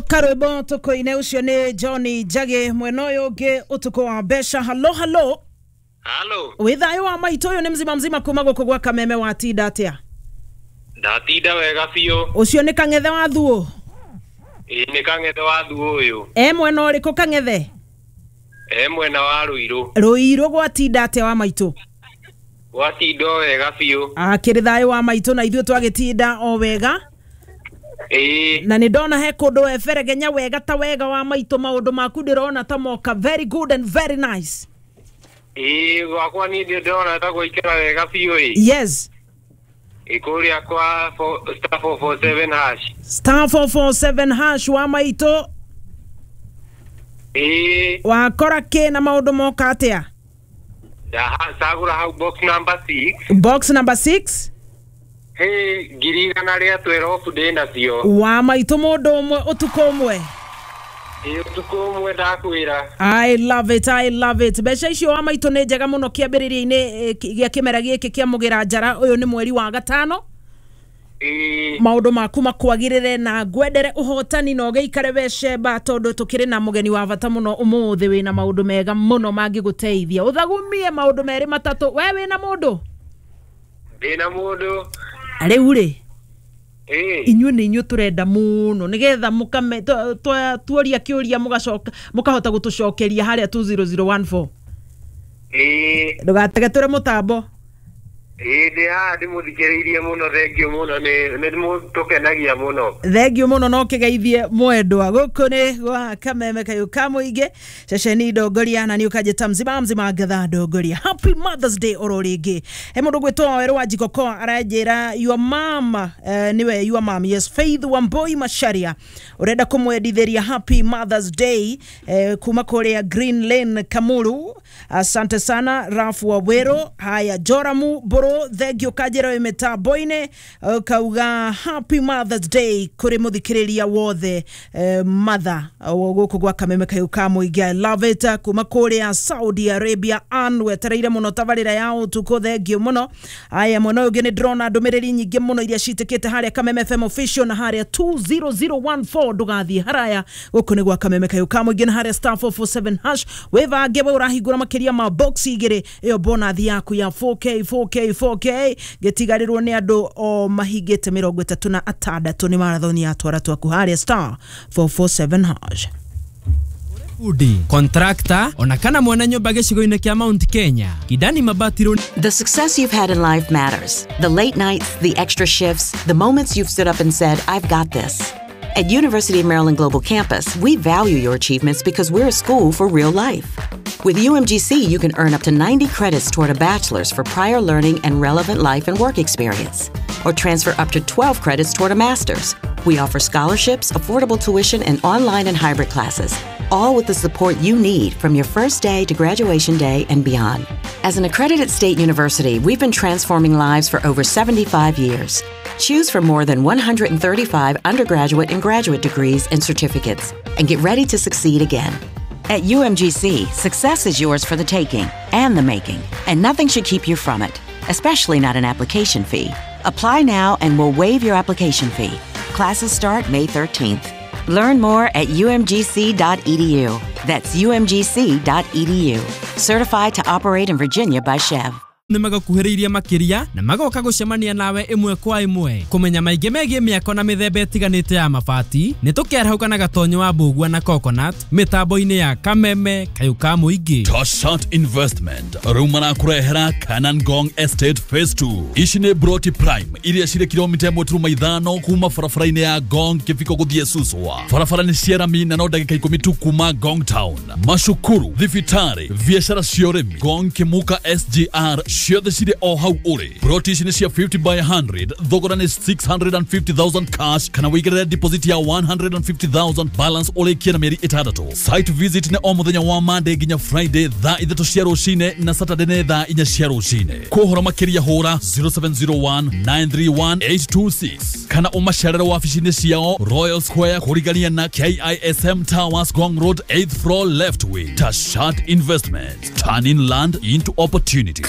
Karwĩmbo tũkũine ũcio nĩ John Njagi mwena ũyũ ũngĩ ũtukũ wa mbeca. Halo halo. Halo. Wĩ thayũ wa maitũ, ũyũ nĩ mzima mzima kuma gũkũ gwa Kameme, watinda atĩa? Ndatinda wega biũ. Ũcio nĩ Kang'ethe wa Thuo? Ĩĩ, nĩ Kang'ethe wa Thuo ũyũ. E mwena ũrĩkũ Kang'ethe? E mwena wa Ruiru. Ruiru gwatinda atĩa wa maitũ? Gwatinda o wega biũ. Akĩrĩ thayũ wa maitũ, na ithuĩ twagĩtinda o wega. Ĩĩ. Na nĩ ndona he kũndũ weberegenya wega ta wega wa maitũ, maũndũ maku ndĩrona ta moka very good and very nice. Ĩĩ, gwakwa niĩ ndĩrona ta gwaikara wega biũ ĩ. Yes. Ĩ kũrĩa kwa star 447 hash. Star 447 hash wa maitũ. Ĩĩ. Wakora kĩ na maũndũ moka atĩa? Ndacagũra hau box number 6. Box number 6. Hey, 112,000 ndĩ nacio. Wa maitũ mũndũ ũmwe ũtukũ ũmwe. Ĩĩ, ũtukũ ũmwe ndakwĩra. I love it, I love it. Mbeca icio wa maitũ nĩ njega mũno kĩambĩrĩria-inĩ gĩa kĩmera gĩkĩ kĩa mũgĩra njara. Ũyũ nĩ mweri wa gatano. Ĩĩ. Maũndũ maku makwagĩrĩre na ngwendere ũhotani na ũgĩikare we cemba, tondũ tũkĩrĩ na mũgeni wa bata mũno ũmũthĩ wĩna maũndũ mega mũno mangĩgũteithia. Ũthagumie maũndũ merĩ matatũ. We wĩna mũndũ? Ndĩna mũndũ. Rĩu rĩ, Ĩĩ. inyuĩ nĩ inyuĩ tũrenda mũno nĩgetha mũkame tuoria kĩũria mũgacoka mũkahota gũtũcokeria harĩa 20014. Ĩĩ. Ndũgatege tũre mũtambo. Ĩĩ, ndĩ haha ndĩmũthikĩrĩirie mũno, thengiũ mũno, nĩ mũtũkenagia mũno. Thengiũ mũno, no kĩgeithie mwendwa. Gũkũ nĩ gwa Kameme kayũ ka mũingĩ, ceceni ndongoria, na nĩ ũkanjĩta mzima mzima ngatha ndongoria. Happy Mother's Day oro rĩngĩ. He mũndũ gwĩtwo Werũ wa Njikokoa aranjĩra your mom, nĩwe your mom, yes, Faith Wamboi Macharia, ũrenda kũmwendithĩria happy Mother's Day kuma kũrĩa Green Lane Kamuru. Asante sana Rafu wa Wero. Haya, Joramu Mburu, thengiũ kanjĩra wĩ mĩtambo-inĩ, ũkauga happy Mother's Day kũrĩ mũthikĩrĩria wothe, mother gũkũ gwa Kameme kayũ ka mũingĩ. I love it. Kuma kũrĩa Saudi Arabia, Ann wetereire mũno tabarĩra ya ũtukũ, thengiũ mũno. Aya, mwena ũyũ ũngĩ nĩ ndĩrona ndũmĩrĩri nyingĩ mũno iria citĩkĩte harĩa Kameme FM official na harĩa 20014. Ndũgathiĩ haraya, gũkũ nĩ gwa Kameme kayũ ka mũingĩ na harĩa star 447 hash. Wĩbange we ũrahingũra makĩria ma box igĩrĩ, ĩyo bonathi yaku ya 4K 4K 4K gĩtigarĩrwo nĩ andũ o mahingĩte 36 nĩ marathoni ya twara twaku harĩa star 447 hash. Bundi, contractor ona kana mwene nyũmba gĩcigo-inĩ kĩa Mount Kenya, Kidani Mabati Road. The success you've had in life matters. The late nights, the extra shifts, the moments you've stood up and said, "I've got this." At University of Maryland Global Campus, we value your achievements because we're a school for real life. With UMGC, you can earn up to 90 credits toward a bachelor's for prior learning and relevant life and work experience, or transfer up to 12 credits toward a master's. We offer scholarships, affordable tuition, and online and hybrid classes, all with the support you need from your first day to graduation day and beyond. As an accredited state university, we've been transforming lives for over 75 years. Choose from more than 135 undergraduate and graduate degrees and certificates, and get ready to succeed again. At UMGC, success is yours for the taking and the making, and nothing should keep you from it, especially not an application fee. Apply now and we'll waive your application fee. Classes start May 13th. Learn more at umgc.edu. That's umgc.edu. Certified to operate in Virginia by Chev. Nĩ magakuhĩrĩirie makĩria na magoka gũcemania nawe ĩmwe kwa ĩmwe kũmenya maingĩ megiĩ mĩako na mĩthemba ĩtiganĩte ya mabati. Nĩ tũkĩarahũka na gatonyo wa mbũgua na coconut mĩtambo-inĩ ya Kameme kayũ ka mũingĩ. Toshat Investment rĩu marakũrehera Kanan Gong Estate Phase 2. Ici nĩ Broti Prime iria cirĩ kilomita 1.5 kuma barabara-inĩ ya Gong Kĩbiko gũthiĩ Suswa. Barabara nĩ cia rami na no ndagĩka 10 tu kuma Gong Town. Macukuru, thibitarĩ, biacara cia ũrĩmi, Gong Kimuka SGR ciothe cirĩ o hau ũrĩ. Broti ici nĩ cia 50 by 100, thogora nĩ 650,000 cash kana wĩigĩrĩre deposit ya 150,000, balance ũrĩkie na mĩeri 6. Site visit nĩ o mũthenya wa Monday nginya Friday thaa 3 cia rũcinĩ na Saturday nĩ thaa 4 cia rũcinĩ. Kũhoro makĩria hũra 0701 931 826 kana ũmacerere wabici-inĩ ciao Royal Square kũrigania na KISM Towers, Gong Road, 8th floor left wing. Tashat Investment, turning land into opportunity.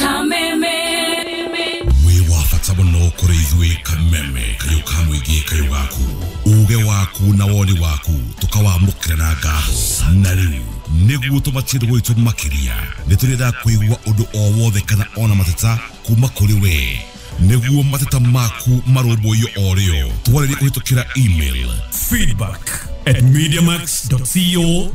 Wĩ wa bata mũno kũrĩ ithuĩ. Kameme kayũ ka mũingĩ kayũ gaku. Uge waku na woni waku tukawamũkĩra na ngatho. Na rĩu nĩguo tũmatie gwitũ makĩria, nĩ tũrĩendaga kũigua ũndũ o wothe kana ona mateta kuma kũrĩ we, nĩguo mateta maku marũmbũiyo o rĩo. Twarĩrie kũhĩtũkĩra email feedback@mediamax.co.